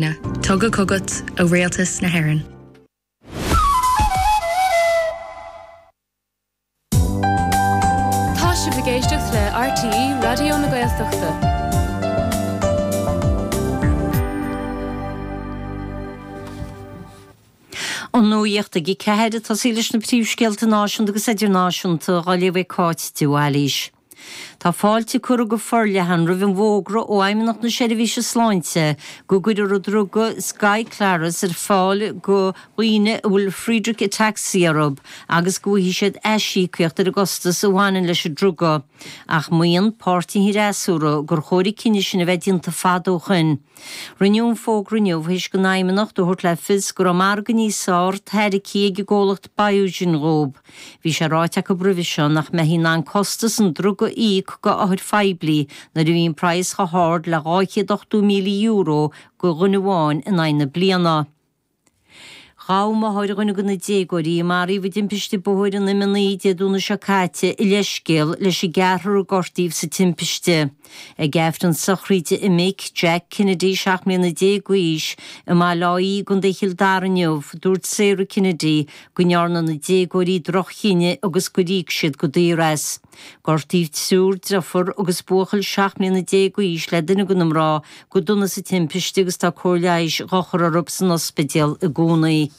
Tugtha chugat ó Rialtas na hÉireann. Tá sibh ag éisteacht le RTÉ Raidió na Gaeltachta. An nuacht ag 4 ag tosaí leis na príomhscéalta náisiúnta agus idirnáisiúnta á léamh ag Cáit de Bhailís. Tá fáilte curtha go forleathan roimh an bhfógra ó Fheidhmeannacht na Seirbhíse Sláinte go gcuirfear an druga Skyclarys ar fáil go dhaoine a bhfuil Friedreich Ataxia orthu agus go bhfaighidh siad aisíocaíocht ar an gcostas a bhaineann leis an druga. Ach maíonn páirtithe an fhreasúra gur chóir an cinneadh sin a bheith déanta fada ó shoin. Rinneadh an fógra inniu théis don Fheidhmeannacht a thabhairt le fios go raibh margadh níos fearr tairgthe ag an gcomhlacht Biogen dhóibh. Bhí sé ráite acu roimhe seo nach mbeifí in ann costas an druga a íoc go othair phoiblí nuair a bhíonn praghas chomh hard le €280,000 go dhuine amháin in aghaidh na bliana. Ghabh máthair dhuine de na déagóirí a maraíodh i dtimpiste bóthair an M9 Dé Domhnaigh seo caite a leithscéal leis an gceathrar a gortaíodh sa timpiste. Ag Aifreann sochraide a mic, Jack Kennedy, 17 mbliana d'aois, i mBaile Átha Í i gContae Chill Dara inniu, dúirt Sarah Kennedy go ndearna na déagóirí droch-chinneadh agus gur íoc siad go daor as. Gortaíodh triúr deirfiúr agus buachaill 17 mbliana d'aois le duine de na mná go dona sa timpiste agus tá cóir leighis dhá chur orthu san ospidéal i gcónaí.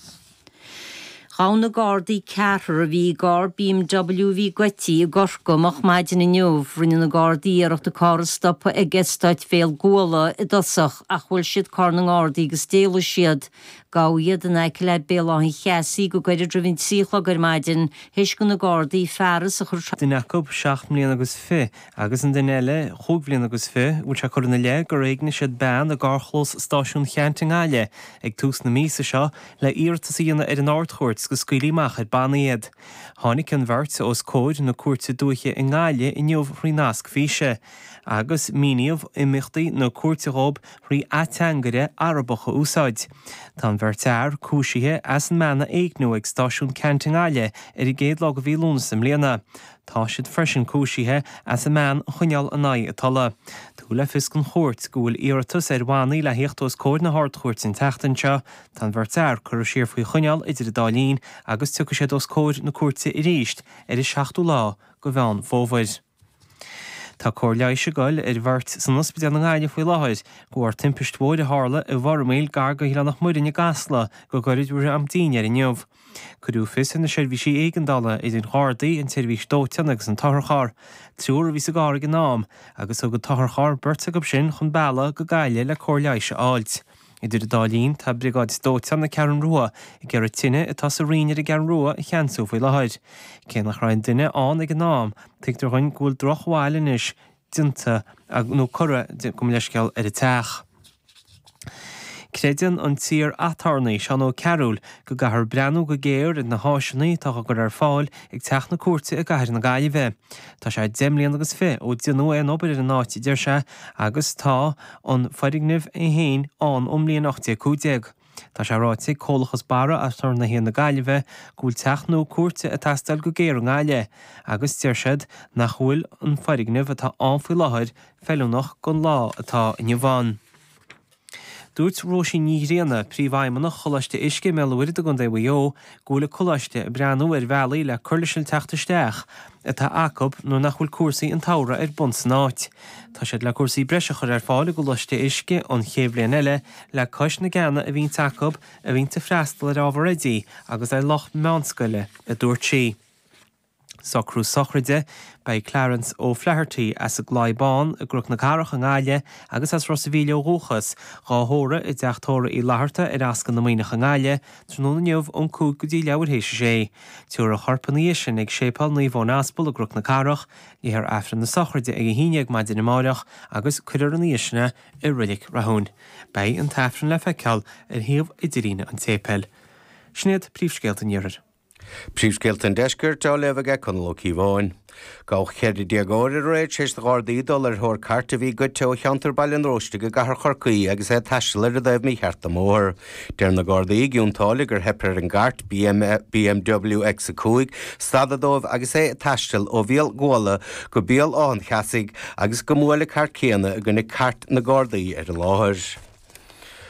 Ghabh na Gardaí ceathrar a bhí i gcarr BMW a bhí goidte i gCorcaigh moch maidin inniu. Rinne na Gardaí iarracht an carr a stopadh ag Eastát Bhéal Guala i dtosach ach bhuail siad carr na nGardaí agus d'éalaigh siad. Gabhadh iad in aice le Béal Átha an Cheasaigh go gairid roimh an 3 a chlog ar maidin théis do na Gardaí fearas a chur duine acu seacht mbliana agus fi agus an duine eile chúig bhliana agus fi, bhfuil sé curtha ina leith gur éignigh siad bean i gcarrchlós Stáisiún Cheannt i nGaillimh ag tús na míosa seo le iarratas a dhéanamh ar an Ard-Chúirt go scaoilfí amach ar bannaí iad. Tháinig an bheirt os comhair na Cúirte Dúiche i nGaillimh inniu thrí nasc físe, agus míníodh imeachtaí na cúirte dhóibh thrí ateangaire Arabach a úsáid. Tá an bheirt fhear cúisithe as an mbean a éigniú ag Stáisiún Ceannt i nGaillimh ar an gcéad lá de mhí Lúnasa i mbliana. Tá siad freisin cúisithe as an mbean a choinneáil in aghaidh a tola. Tugadh le fios don chúirt go bhfuil iarratas ar bhannaí le thíocht os comhair na hArd-Chúirte an tseachtain seo. Tá an bheirt fhear curtha siar faoi choinneáil idir an dá linn agus tiocfaidh siad os comhair na cúirte arís ar an seachtú lá de Mheán Fómhair. Tá cóir leighis ag goil ar bheirt san ospidéal i nGaillimh faoi láthair de bharr timpist bhóthair a tharla i bhFormaoil gar go hOileán Loch Muirinn i gCasla go gairid roimh am dinnéir inniu. Cuireadh fios ar na seirbhísí éigeandála, idir an Ghardaí, an tseirbhís dóiteáin agus an t-otharcharr. Triúr a bhí sa gcarr ag an am, agus thug an t-otharcharr beirt acu sin chun bealaigh go Gaillimh le cóir leighis a fháilt. Idir an dá linn, tá briogáid dóiteáin na Ceathrún Rua ag iarraidh tine atá sa Rinn ar an gCeathrú Rua a cheansú faoi láthair. Cé nach raibh aon duine ann ag an am, tuigtear dhuinn go bhfuil drochbhail anois déanta nó curtha, gabh mo leithscéal, ar an teach. Creideann an t-iar-aturnae, Seán Ó Cearúil, go gcaithfear breathnú go géar ar na háiseanna atá á gcur ar fáil ag Teach na Cúirte i gcathair na Gaillimhe. Tá sé deich mbliana agus fi ó déanadh aon obair ar an áit, a deir sé, agus tá an foirgneamh é féin ann ón mbliain 1815. Tá sé ráite ag Comhlachas Barra Aturnaetha na Gaillimhe go bhfuil teach nua cúirte ag teastáil go géar i nGaillimh agus deir siad nach bhfuil an foirgneamh atá ann faoi láthair feiliúnach don lá atá inniu ann. Dúirt Róisín Ní Ghrianna, Príomhfheidhmeannach Choláiste Uisce i mBéal an Mhuirthead i gContae Mhaigh Eo, go bhfuil an coláiste ag breathnú ar bhealaí le cur leis an teacht isteach atá acu nuair nach bhfuil cúrsaí an tsamhraidh ar bun san áit. Tá siad le cúrsaí breise a chur ar fáil i gColáiste Uisce an chéad bhliain eile le cois na gceanna a bhíonns acu a bhíonns ag freastal ar ábhar oidí agus ar lucht meánscoile, a dúirt sí. Socrú sochraide, Beidh Clarence O'Flaherty as an gClaí Bán i gCnoc na Cathrach i nGaillimh agus as Ros a' Mhíl ó dhúchas, dhá thórramh i dTeach Tórraimh Uí Fhlatharta ar Ascaill na Muimhneach i nGaillimh, tráthnóna inniu ón 5 go dtí leathuair théis a sé. Tabharfar a chorp ina dhiaidh sin ag Séipéal Naomh Eoin Aspal i gCnoc na Cathrach, léifear Aifreann na sochraide ag 11 maidin amáireach agus cuirfear ina dhiaidh sin é i Reilig Rathúin. Beidh an tAifreann le feiceáil ar shuíomh idirlíne an tséipéil. Sin iad príomhscéalta an Iarthair. Príomhscéalta an Deiscirt á léamh aige Conall Ó Cíobháin. Gabhadh 14 déagóir aréir tar éis do Ghardaí dul ar thóir cairt a bhí goidte ó cheantar Baile an Róistigh i gcathair Chorcaí agus é ag taisteal ar an dtaobh mícheart den mbóthar. Deir na Gardaí i gCionn tSáile gur theip ar an gcairt BMW X5 stadadh dóibh agus é ag taisteal ó Bhéal Guala go Béal Átha an Cheasaigh agus go mbuail an cairt céanna i gcoinne cairt na Gardaí ar an láthair.